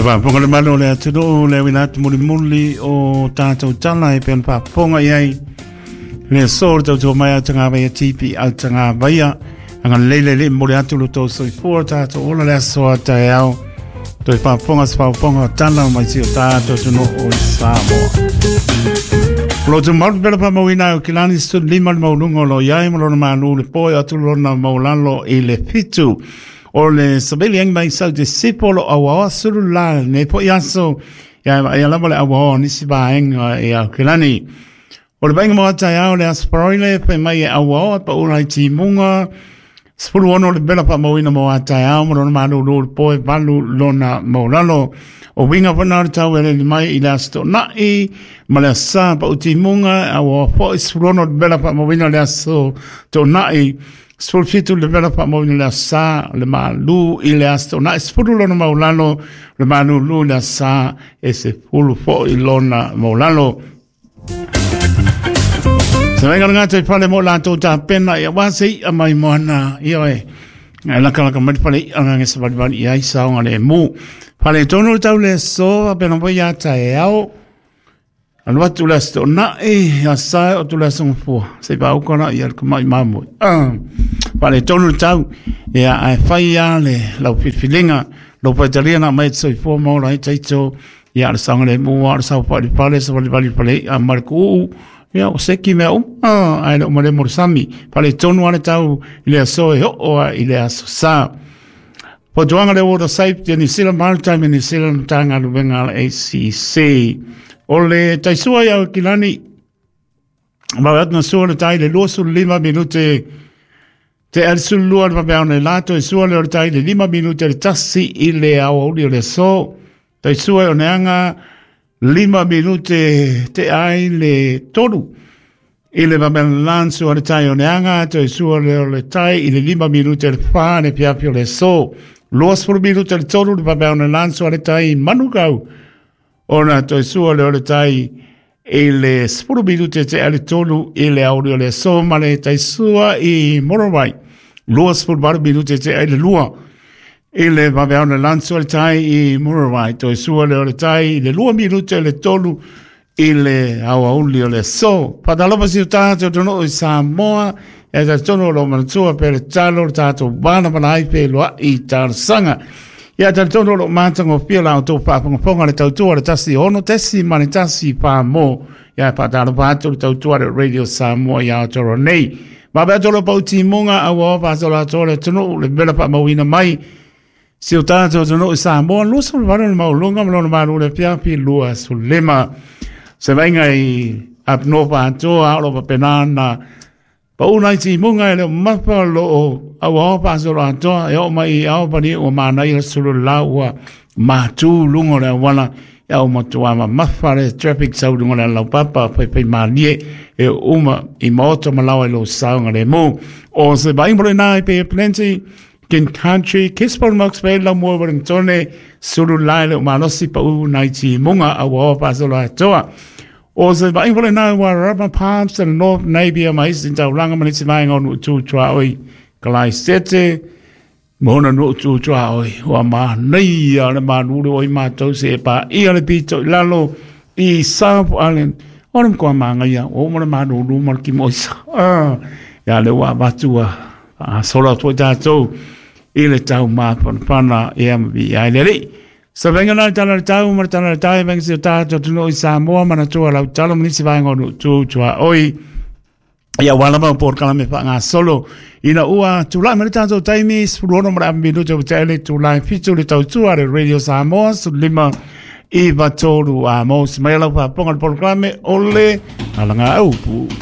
Toe faafofoga le mamalu o le atunuu le auina atu mulimuli o tātou tala e pei ona faafofoga i ai le aso le tautua mai a Tagavaia TP au Tagavaia agalelei le Alii momoli atu lo tou soifua tātou ola le aso a taeao toe faafofoga se faafofoga o tala mai si o tātou atunuu o Samoa. O lo tumau le pela faamauina ai o Kilani 15 le maualuga o lo o i ai ma lona malu le po e atu lona maualalo i le 7. O le savili ai mai sau te sipo lo auaoa sulu la nei po i aso ia ia lava le auaoa nisi vaega i Aokelani. O le vaaiga mo taeao le aso Faraile fai mai e auaoa pa ula i timuga 16 le vela faamauina mo taeao ma lona malulu le po e 8 lona maulalo. O winga fana o le tau e lele mai i le aso Toonai ma le aso Sa pa u timuga auaoa foi 16 le vela faamauina le aso Toonai 17 le vela faamauina le aso Sa le malu i le aso Toonai 10 lona maulalo le malulu i le aso Sa e 10 foi lona maulalo. Se vainga le ngata i fale mo latou tapena ia wa se i'a mai moana ia e e laka laka mai le fale i'a ngange sa valivali i ai saoga le mu. Fale tonu le tau le aso a pena foi ia taeao. Alu atu le aso Toonai, ia sae o atu le aso Gafua. Se i paauka la ia le kamai mamoe. Fale tonu le tau, ia ae fai a le lau filifiliga, lou faitalia na aumai e te soifua ma ola ai taito, ia le saogalemu lava o le saofai i le fale, savalivali i le fale i'a ma le ku'u'u, ia ua seki mea uma, ae le o malemo le sami. Faaletonu lava le tau i le aso e oo lava i le aso Sa. Fautuaga le Water Safety a New Zealand Maritime New Zealand Matagaluega a le ACC. O le taisua i Aukilani, ma atu na sua le tai le 25 minute te ali sulu lua le vaveao nei la toe sua le o le tai le 5 minute le tasi i le aoauli o le aso. Tai sua e oneaga 5 minute te ai le tolu. I le vaveao lan sua le tai oneaga toe sua le o le tai i le 5 minute le 4 le afiafi o le aso. 20 minute le tolu le vaveao nei lan sua le tai Manukau. Ona toe sua lea o le tai i le 10 minute te ale tolu i le aoauli o le aso ma le tai sua i Mororai. 28 minute te ai le lua i le vaveao na lan sua le tai i Mororai. Toe sua lea o le tai i le 2 minute le tolu i le aoauli o le aso. Faatalofa si o tātou atunuu i Samoa, e talitonu o lo manatua pe le talo le tātou vanavana ai pe loa'i i talosaga. Ia talitonu o lo matagofie la outou faafogafoga le tautua le 16.1 pā mo. Ia faatalofa atu le tautua le Radio Samoa i Aotearoa nei. Vave atu lo pau timuga aua o faasolo atoa le atunuu le vela faamauina mai si o tātou atunuu i Samoa, 28 le maualuga ma lona malu le afiafi 25. Se vaaiga i Up North atoa o lo o faapena ona pau nai timuga e le o mafa o lo o auaoa faasolo atoa e oo mai i Albany ua manaia le sulu la ua matū luga o le auala ia ua matua mamafa le traffic sau luga o le alaupapa faifai malie e uma i maota ma laoa i lou saogalemu. O se vaaiga mo lena i Bay of Plenty, King Country, Gisborne Hawke's Bay, Laumua, Wellington, sulu la e le o malosi pau nai timuga auaoa faasolo atoa. O se vaaiga foi lena ua Rubber Palms and North Napier ma isi taulaga ma nisi vaega o Nuu Tu Tuaoi Kalaisete ma ona Nuu Tu Tuaoi ua manaia le malu le oi mātou se e pāia le pito i lalo i South Island o le matua māngaia o uma le malūlū ma le kimoisa. Ia le ua avatu ua faasola atu ai tātou i le tau mafanafana ia ma viia ai le Alii. Sa vainga na le tala le tau ma le tala le tai vainga si o tātou atunuu i Samoa manatua lau talo ma nisi vaega o Nuu Tu Tuaoi. Ia ua lava o polokalame faagasolo ina ua tulai mai le tātou taimi 16 ma le ava minute ua tea le itula e 7 le tautua a le Radio Samoa 15 i 3 a mo se mai lau faafofoga le polokalame o le Alagaupu.